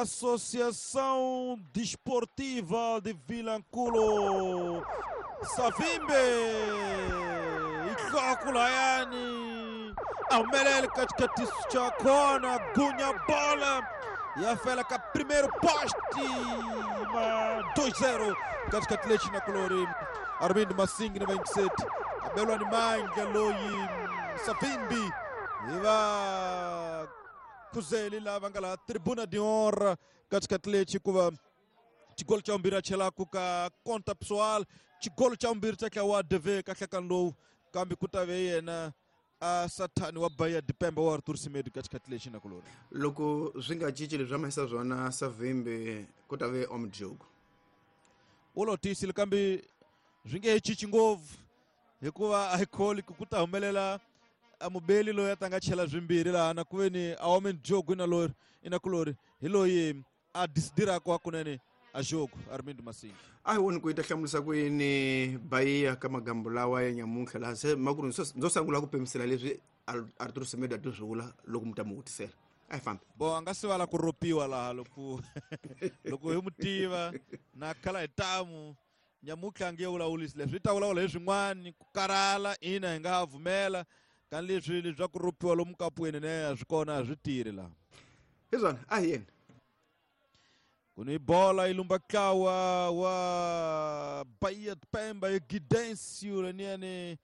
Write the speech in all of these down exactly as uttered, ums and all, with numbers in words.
Associação Desportiva de Vilanculo. Savimbi ikokulayani ahumelele katika tisu cha kona gunya bola yafela ka primeiro poste ma dois zero katika tilechi na kulori Armindo Massingi na vinte e sete abelwa ni manga loyi Savimbi iva kuzeli lava nga la tribuna de honra katika tilechi kuva chigolo cha umbiri achelaku ka conta pessoal chigolo cha umbiri cha wa D V kahlekani lowu kambe ku ta ve yena a sathani wa Bahia de Pemba wa Arthur Semedo katika tilechi na kulori loko swi nga cinci leswi a swona Savimbi ku ta ve omjogo u lo tiyisile kambe swi nge he cinci ngopfu hikuva a hi kholi ku ta humelela a mubeli loyi a ta nga chela swimbirhi laha na ku ve ni a omen jogo ina lori ina kulori hi loyi a disidiraka wa kunene a jogo Armindo Massingi a hi voni ku yi ta hlamulisa ku yini Bahia ka magambo lawa ya nyamuntlha laha se makuru ndzo sungula ku pemisela leswi Arthur Semedo a ti swi vula loko mi ta mu vutisela a hi fambi bo a nga sivala ku ropiwa laha loko loko hi mu tiva na khala hi tamu nyamuntlha a nge vulavulisi leswi yi ta vulavula hi swin'wani ku karhala ina hi nga ha vumela kan leswi leswi ku ropiwa lomu kapweni ne a swi kona a swi tirhi laha hi swona a hi yena kuni bola ilumba kawa wa Bahia de Pemba e Guidêncio leniane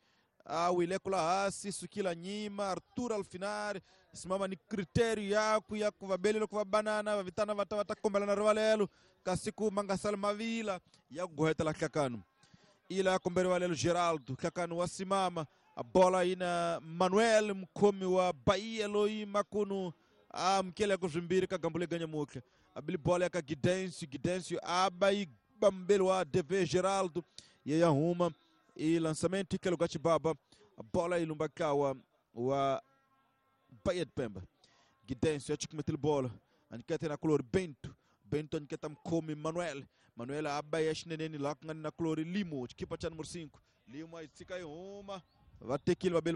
awile kula hasi sukila nyima Arthur Alfinari simama ni critério yaku ya kuvabelelo kuva banana vavitana vata vatakombelana rivalelo kasi ku mangasala mavila ya kugohetela hlakano ila kombe rivalelo Geraldo hlakano wa simama a bola ina Manuel mkhomi wa Bahia loyi makunu amukele ku swimbirhi ka gambo leganya muhle abili bola ka Guidêncio Guidêncio aba e bambelo wa D V Geraldo ye ya huma e lançamento que lugar chibaba a bola ilumba kawa wa Bahia de Pemba Guidêncio achikumete bola anikete na color Bento Bento aniketa mkhomi Manuel Manuel aba ya xineneni la ku nga na color Limo chikipa cha número cinco Limo aitsika yi huma vatekile vabeli